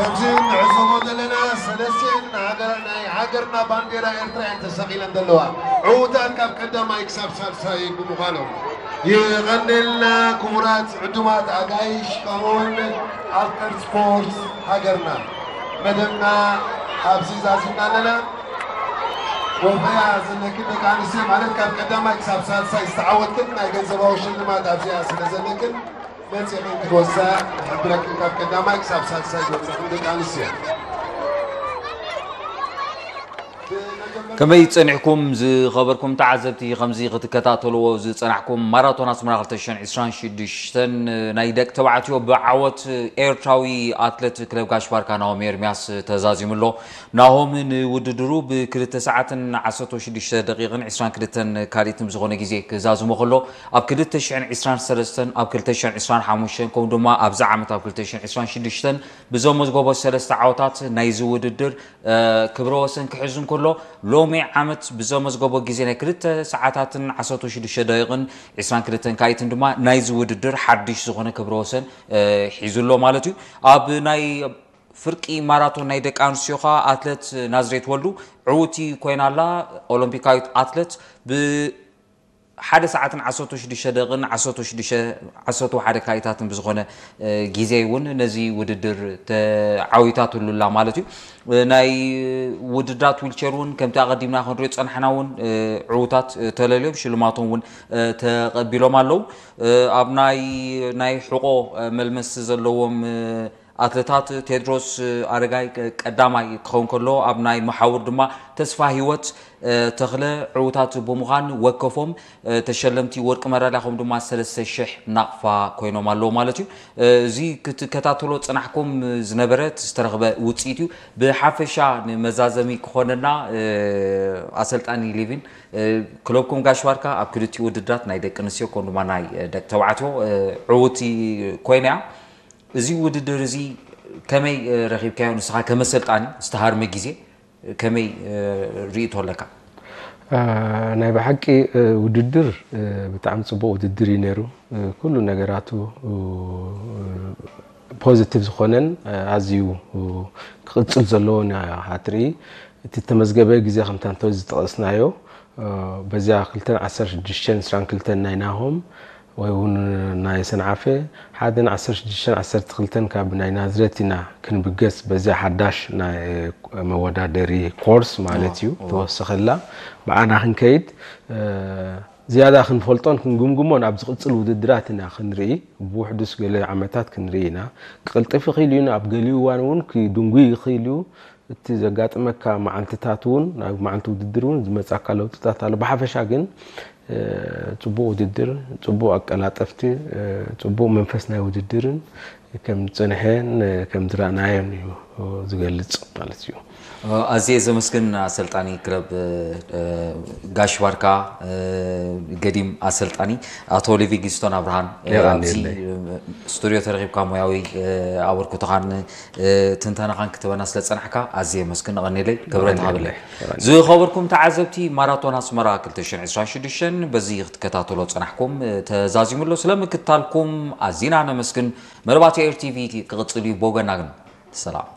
ከምዚ ንዕዘቦ ዘለና ሰለስቲኤን ሃገር ናይ ሃገርና ባንዴራ ኤርትራ እየን ተሰቒለን ዘለዋ። ዕዉታት ካብ ቀዳማይ ክሳብ ሳልሳይ ብምዃኖም የቐንልና። ክቡራት ዕዱማት ኣጋይሽ ከምኡውን ኣፍቀርቲ ስፖርት ሃገርና፣ መደብና ኣብዚ ዛዚምና ኣለና። ወፈያ ዘለክን ደቂ ኣንስትዮ ማለት ካብ ቀዳማይ ክሳብ ሳልሳይ ዝተዓወትክን ናይ ገንዘባዊ ሽልማት ኣብዚኣ ስለ ዘለክን መጺእክን ክትወሳ ንሕብረክን ካብ ቀዳማይ ክሳብ ሳልሳይ ዝበጽሕክን ደቂ ኣንስትዮ። ከመይ ጸኒሕኩም ዝኸበርኩም ተዓዘብቲ? ከምዚ ክትከታተልዎ ዝጸናሕኩም ማራቶን ኣስመራ ክልተ ሽሕን ዕስራን ሽዱሽተን ናይ ደቂ ተባዕትዮ ብዓወት ኤርትራዊ ኣትለት ክለብ ጋሽ ባርካ ናሆም ኤርሚያስ ተዛዚሙ ኣሎ። ናሆም ንውድድሩ ብክልተ ሰዓትን ዓሰርተ ሽዱሽተ ደቂቕን ዕስራን ክልተን ካልኢትን ብዝኾነ ግዜ ክዛዝሞ ከሎ ኣብ ክልተ ሽሕን ዕስራን ሰለስተን ኣብ ክልተ ሽሕን ዕስራን ሓሙሽተን ከምኡ ድማ ኣብዚ ዓመት ኣብ ክልተ ሽሕን ዕስራን ሽዱሽተን ብዘመዝገቦ ሰለስተ ዓወታት ናይዚ ውድድር ክብረ ወሰን ክሕዝ እንከሎ ሎሚ ዓመት ብዘመዝገቦ ግዜ ናይ ክልተ ሰዓታትን ዓሰርተ ሽዱሽተ ደቂቕን ዕስራን ክልተን ካልኢትን ድማ ናይዚ ውድድር ሓድሽ ዝኾነ ክብረ ወሰን ሒዙ ኣሎ ማለት እዩ። ኣብ ናይ ፍርቂ ማራቶን ናይ ደቂ ኣንስትዮ ኸኣ ኣትለት ናዝሬት ወልዱ ዕውቲ ኮይና ኣላ። ኦሎምፒካዊት ኣትለት ብ ሓደ ሰዓትን ዓሰርተ ሽዱሽተ ደቂቕን ዓሰርተ ሽዱሽተ ዓሰርተ ሓደ ካልኢታትን ብዝኾነ ግዜ እውን ነዚ ውድድር ተዓዊታትሉ ኣላ ማለት እዩ። ናይ ውድድራት ዊልቸር እውን ከምቲ ኣቐዲምና ክንሪኦ ዝጸናሕና እውን ዕዉታት ተለልዮም ሽልማቶም እውን ተቐቢሎም ኣለዉ። ኣብ ናይ ናይ ሕቖ መልመስቲ ዘለዎም ኣትለታት ቴድሮስ ኣረጋይ ቀዳማይ ክኸውን ከሎ ኣብ ናይ መሓውር ድማ ተስፋ ህይወት ተኽለ ዕዉታት ብምዃን ወከፎም ተሸለምቲ ወርቂ መዳልያ ከምኡ ድማ ሰለስተ ሽሕ ናቕፋ ኮይኖም ኣለዉ ማለት እዩ። እዚ ክትከታተሎ ዝጸናሕኩም ዝነበረ ዝተረኽበ ውጽኢት እዩ። ብሓፈሻ ንመዛዘሚ ክኾነና ኣሰልጣኒ ሊቪን ክለብኩም ጋሽ ባርካ ኣብ ክልቲኡ ውድድራት ናይ ደቂ ኣንስትዮ ከምኡ ድማ ናይ ደቂ ተባዕትዮ ዕውቲ ኮይና እያ። እዚ ውድድር እዚ ከመይ ረኺብካዮ? ንስኻ ከም ኣሰልጣኒ ዝተሃርመ ግዜ ከመይ ርእይቶ ኣለካ? ናይ ብሓቂ ውድድር ብጣዕሚ ፅቡቅ ውድድር እዩ ነይሩ። ኩሉ ነገራቱ ፖዚቲቭ ዝኾነን ኣዝዩ ክቕፅል ዘለዎን ኢኻ ትርኢ። እቲ ተመዝገበ ግዜ ከምታ እንተ ዝጠቐስናዮ በዚኣ ክልተን ዓሰርተ ሽዱሽተን ዕስራን ክልተን ናይ ናሆም ወይ እውን ናይ ሰንዓፈ ሓደን ዓሰርተ ሽዱሽተን ዓሰርተ ክልተን ካብ ናይ ናዝሬት ኢና ክንብገስ በዚኣ ሓዳሽ ናይ መወዳደሪ ኮርስ ማለት እዩ ተወሰኸላ ብኣና ክንከይድ ዝያዳ ክንፈልጦን ክንግምግሞን ኣብ ዝቕፅል ውድድራት ኢና ክንርኢ ብውሕዱስ ገለ ዓመታት ክንርኢ ኢና ክቕልጥፍ ይኽእል እዩ ኣብ ገሊኡ እዋን እውን ክድንጉይ ይኽእል እዩ እቲ ዘጋጥመካ መዓልትታት እውን ናብ መዓልቲ ውድድር እውን ዝመፃካ ለውጥታት ኣሎ ብሓፈሻ ግን ፅቡቅ ውድድር ፅቡቅ ኣቀላጠፍቲ ፅቡቅ መንፈስ ናይ ውድድርን ከም ዝፀንሐን ከም ዝረእናዮን እዩ ዝገልፅ ማለት እዩ ኣዝየ ዘመስግን ኣሰልጣኒ ክለብ ጋሽ ባርካ ገዲም ኣሰልጣኒ ኣቶ ሊቪንግስቶን ኣብርሃን ኣብዚ ስቱድዮ ተረኺብካ ሙያዊ ኣበርክቶኻን ትንተናኻን ክትበና ስለ ዝጸናሕካ ኣዝየ የመስግን። ኣቐንየለይ፣ ክብረት ሃበለይ። ዝኸበርኩም ተዓዘብቲ ማራቶን ኣስመራ ክልተ ሽሕን ዕስራን ሽዱሽተን በዚ ክትከታተሎ ዝጸናሕኩም ተዛዚሙ ኣሎ። ስለ ምክትታልኩም ኣዚና ነመስግን። መደባት ኤር ቲቪ ክቕጽል እዩ። ብወገንና ግን ሰላም።